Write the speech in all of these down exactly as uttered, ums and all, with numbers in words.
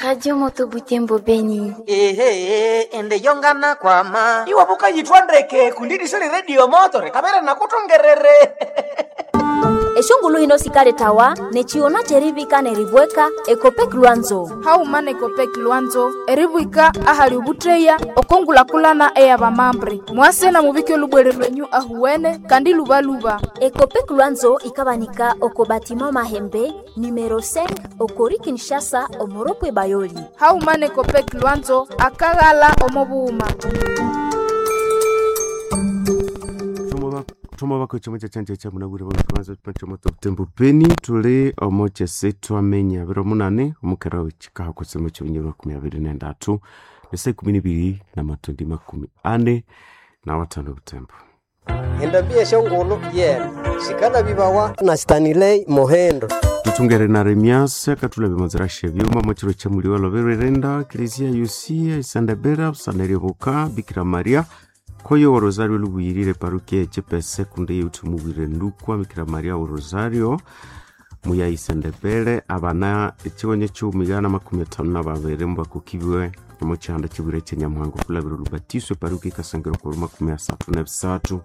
Radio Moto Butembo Beni. Ehe, ende yongana kwama. Iwe bukayithwa ndeke kundi sili radio moto rikabere nakutongerere. Eshongulu hino sikaletawa nechiona cherivika neribweka Ekopek Lwanzo. Hauma nekopek Lwanzo eribwika ahali ubutreya okongulakulana eyabamambre mwase na mubike olubwere lwenyu ahuwene kandi lubaluba. Ekopek Lwanzo ikabanika oko batima Mahembe numero cinq okori Kinshasa omoropwe Bayoli. Hauma nekopek Lwanzo akaghala omobuuma. Thoma bako chomo cha chanja cha munabwire bwa chomo Butembo Beni tuli omo chese twamenya biro munane omukera w'ekikaha kusema ky'ebinyoro makumi abiri n'endatu nesa ikumi n'ibiri n'amatondi makumi ane na watano Butembo. Endambia shongolo yena sikala bibawa na Stanley Mohendo. Tutungere na Remias katula bimanzira shebyuma mochiro chamuliwa lobererenda Eklezia Yusia Isandabera Sanerioboka Bikira Maria koyo wa Rosario lubuyirire parukia echepese kunde yutumubwire ndukwa Bikira Maria wa Rosario muya Isandabere abana ekiwonye ky'omigana makumi atano na babiri mbakukibiwe omukyanda kibwire kyenyamuhango kulabira olubatiswe parukia ikasangiro kwa makumi asatu na bisatu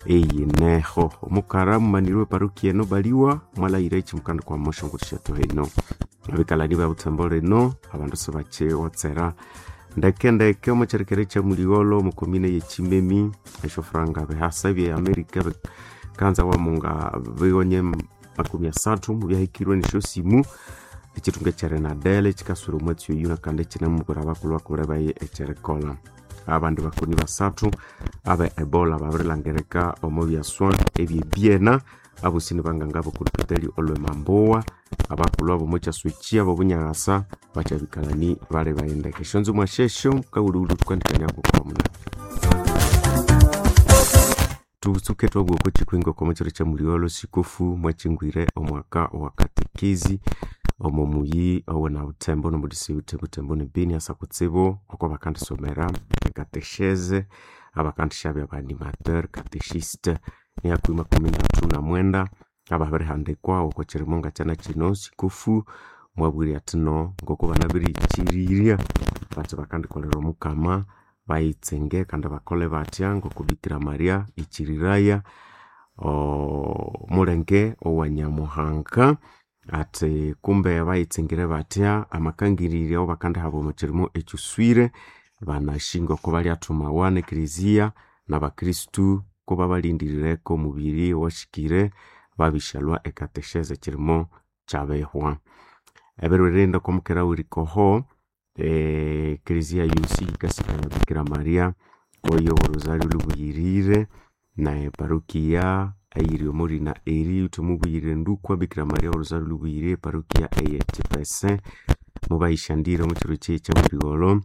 eyineho omukara mumanirwe parukia eno baliwa mwalayira ekimukanda kwa moshongorishato heno abikalani ba Butembo reno abandu sibakiwotsera ndeke ndeke omukyerekere kyamuligholo omukomine yekimemi eshofuranga bihasa bye Amerika kanza wamunga bigonye makumi asathu mubyahikirwe neshosimu ekitunga ekyerenadele kikaswira omwatsi oyu nakandi ekinemubwira abakulhu bakubure baye ekyerikola abandi bakoni basathu abe Ebola babirilangirika omu byaswa ebyebyena abosi nibanganga bokulupitali olwemambowa abakulhu abomu kyaswekyi abobunyakasa bakyabikalani bali bayendeke eshonzo mwashesho kawuluwulu tukandikaniako kwa munani tutsuke twabwoko chikwingo kwa machiro cha muliolo sikofu mwachingwire omwaka wa katekezi omo muyi owe na Butembo nomudisi Butembo ne Beni asa kutsibo oko bakandisomera ekatesheze abakandishabya abanimateur katechiste niakwi makumi ndatu na mwenda ababirihandikwa oko chirimonga chana chino sikofu mwabwire atino ngoko banabirichirirya bati bakandikolera omukama bayitsenge kandi bakole batya ngoko Bikira Maria ichiriraya omulenge owa Nyamuhanga ati kumbe bayitsengere batya amakangirire awo bakandihaba omu kirimo ekyuswire banashinga oko balyathumawa n'ekelezia n'abakristu ko babalindirireko omubiri owashikire babishalwa ekatesheze ekirimo kyabehwa ebiro birinda okwamukera werikoho ekelezia yosi yikasikaya Bikira Maria oyo Rosario lubuyirire na parokia eyiri omurina eri uthumubuyirire ndukwa Bikira Maria Rosario lubuyirire parokia eye Chipese mubayishandire omukiro kye kyamuligholo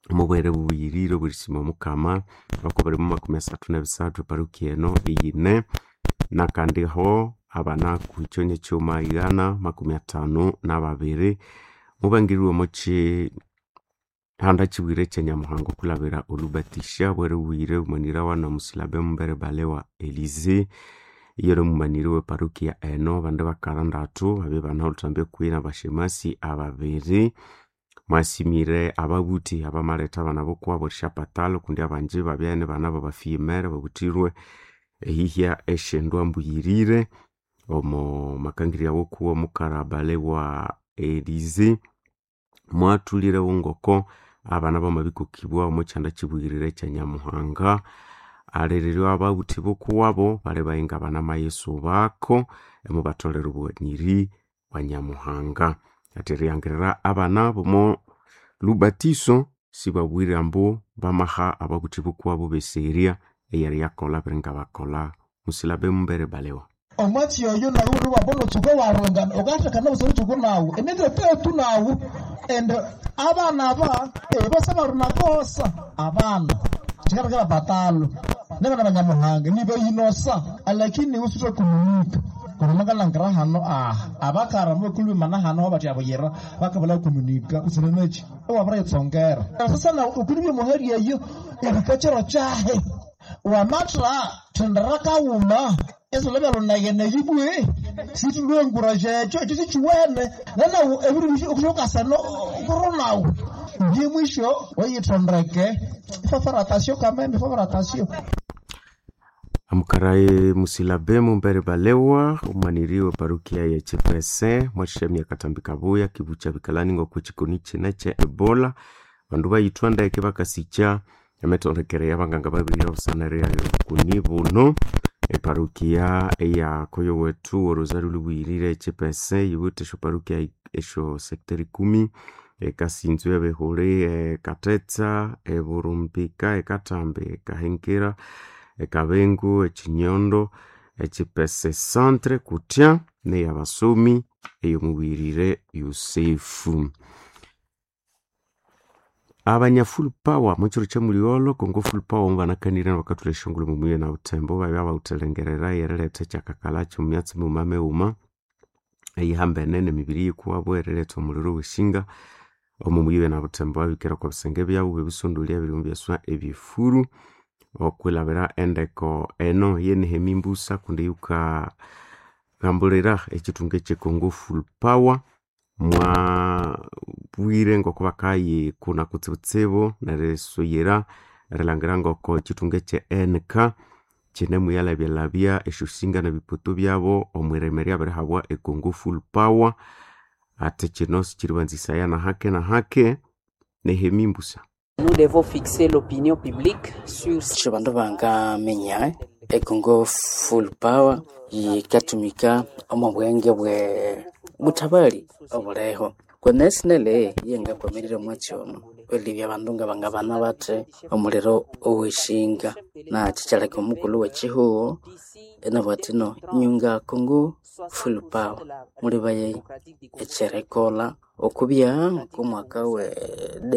mubwere bubuyirire oburisima omukama oko bali mu makumi asathu n'ebisathu parokia eno eyine nakandiho abanaku ekyonyi kyuma igana makumi athanu n'ababiri mubangirirwe omu kihanda kibwire kyenyamuhanga okulabira olubatisha bwere bubuyire bumanirawa nomusilabe mumbere bale wa Elize iyero mumaniri we parokia eno abandi bakara ndatu babye banaholuthambe kuyi nabashemasi ababiri mwasimire ababuthi abamaletha abana bokuwabo erishapatalo kundi abanji babya nibana babafiyemere babuthirwe ehihya eshendwa mbuyirire omo makangirya wokuwa omukara bale wa Elize mwathulire ngoko abana bamabikokibwa omu kyanda kibuyirire kya Nyamuhanga alerirwe ababuthi bokuwabo bali bayinga banamayesu bako emubatholera obughanyiri bwa Nyamuhanga ati eriyangirira abana bomo lubatiso sibabwire ambu bamaha ababuthi bokuwabo beseria eyeriyakolha biringa bakolha musilabe mumbere balewa omwatsi oyo nawu niwabona otsuka warungana ukathekana busana otsuku nawu emitetetu nawu and abana aba ebose barunakosa abana chikatakala batalo nebana banyamuhanga nibayinosa lakini usuthe kumunika kurumangalangira hano aha abakara mukulumana hano bathi abuyira bakabala kumunika usinenechi owabirayitsongera sasa na ukulibye muheri eyo erikachero chahe wamatra thendera kawuma esolobya lunayene yibwe Situlwenguraje ekyo ekyo sikiwene nenawu ebindu okusokasano kuronawu byemwisho oyitondeke ifafaratasiyo kameme ifafaratasiyo. Amukaraye musilabe mumbere balewa omwaniri we parukia ya Chipese mwashamia katambi kabuya kibucha bikalani ngoko chikoni chine che Ebola bandu bayithwa ndeke bakasikya emitondekere y'abanganga babiri obusanere kuni buno eparukia eya koyo wetu orosari lubuyirire Chipese yiwithe esyo parukia esyo sector ikumi ekasinzwe ebihuli ekatetsa eburumbika ekatambi ekahengera ekabengu ekinyondo echipese centre kutya neyabasomi eyomubirire Yusefu. Abanya full power muchiro kyamuligholo Congo full power mubanakanire bakathula eshongolo mumuye na butembo babya bawuthalengerera eriletha ekyakakalha kyomumyatsi mighuma mighuma eyihambene nemibiri yikuwabo eriletha omuliro weshinga omo muyibe na butembo babikira okwa bisenge byabu bebisondolya ebirimu byaswa ebyefuru okwilabira endeko eno ye Nehemi Mbusa kundi yukagambulira ekithunga ekye Congo full power mwabwire ngoko bakayikuna kutsibutsibu nerisuyira erilhangira ngoko ekithunga ekye N K kinemuyalhabyalhabya esyosinga nebiputu byabo omwirima eryabirihabwa e Congo full power ati kino sikiribanzisaya nahake nahake. Nehemi Mbusa. Nous devons fixer l'opinion publique sur Sho bandu bangaminya econgo full power yikatumika omu bwenge bwe butabali obuleho kwenesinele yengakwamirire omwatsi ono elibya abandu nga bangabana bathe omuliro oweshinga na kikyaleka omukulhu wekihugho enabugha athi no nyunga Congo full power mulibaye ekyerikolha okubya ng'omwaka we